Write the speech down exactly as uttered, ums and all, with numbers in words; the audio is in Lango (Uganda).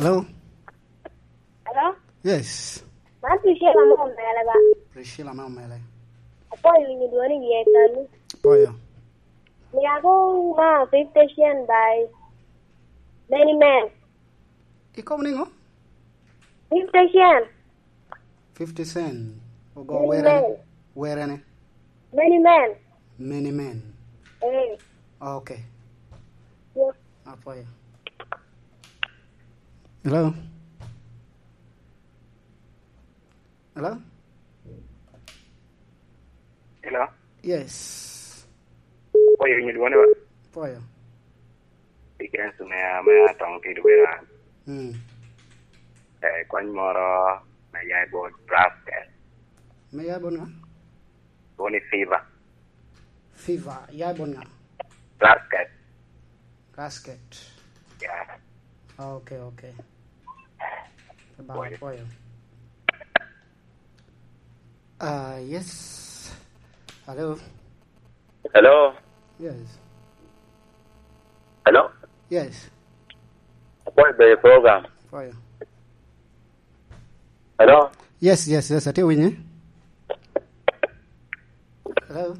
Hello? Hello? Yes. Man Priscilla me Omele ba? Priscilla me Omele. Apwoyo winyo dwoni i yie kanni. Apwoyo. Miya ko ma fifty cent by Many Men. Ikobo niŋo? Fifty cent. Fifty cent. Ogo Many werene. Men. Werene. Many Men. Many Men. Eh. Okay. Yes. Apwoyo. Hello? Hello? Hello? Yes. Apwoyo winyo dwoni ba? Apwoyo. Dickens me, me atong kit wira. Mm. Eh, kony moro me ya i bot Brasket. Me ya i bot ŋa? Dwoni Fever. Fever, ya i bot ŋa? Brasket. Brasket. Yeah. Okay, okay. Ba, apwoyo. Ah, yes. Hello. Hello. Yes. Hello. Yes. Apwoyo bedo program. Apwoyo. Hello. Yes, yes, yes. Atye winyi. Hello.